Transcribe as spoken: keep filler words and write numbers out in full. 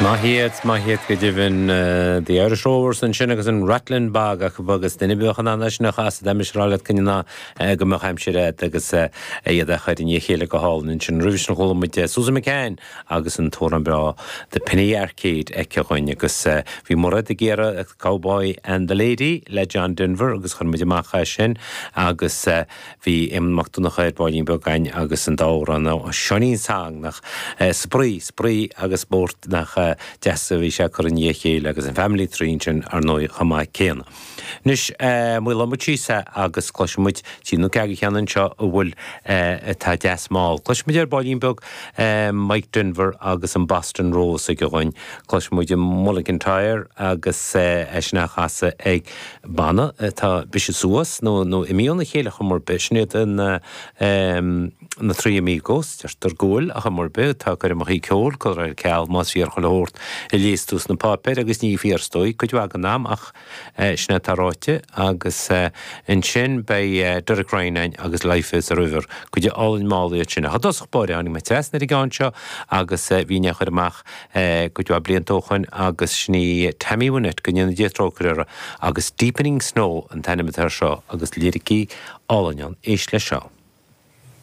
Maith iad, maith iad go deimhin The Irish Rovers ansin agus an Rattlin' Bog acu agus duine beag an anna sin a chas d'aimsir le cinna go mbeadh aimsir agus iad a chur in chéile go hálainn ansin roimhe sin chuala muid Susan McCann agus an t-amhrán breá The Penny Arcade aici againn agus bhí Mairéad ag iarraidh Cowboy and the Lady le John Denver agus chuir muid amach é sin agus bhí Éamonn Mac Donncha ar ball beag agus an t-amhrán Seáinín Song nach spraoi spraoi agus spórt nach deas a bhí sé chur in chéile agus an Family Tree sin ar ndóigh chomh maith céanna. Anois maolóidh muid síos agus cloisfimid trí nó ceathair cheann anseo a bhfuil atá deas mall. Cloisfimid ar baillín beag Mike Denver agus an Boston Rose ag againn. Cloisfimid an Mull of Kintyre agus é sin á chasadh ag banna atá briseadh suas nó nó imithe óna chéile chomh mór bith sin iad an na Three Amigos deirtear go bhfuil a chomh mór bith atá coirmeacha ceoil curtha ar ceal más fíor chuile shórt a léas tú sna páipéir agus ní fíor is dóigh cuid mhaith den am ach sin atá ráite agus ansin beidh Derek Ryan agus Life is a River cuid álainn mall iad sin. Ach i dtosach báire tháinig mé trasna ar an gceann seo agus bhí ne chur amach cuid mhaith blianta ó shin agus sin í Tammy Wynette go ndéana Dia trócaire uirthi agus Deepening Snow an t-ainm atá seo agus liricí álainn ann éist leis seo.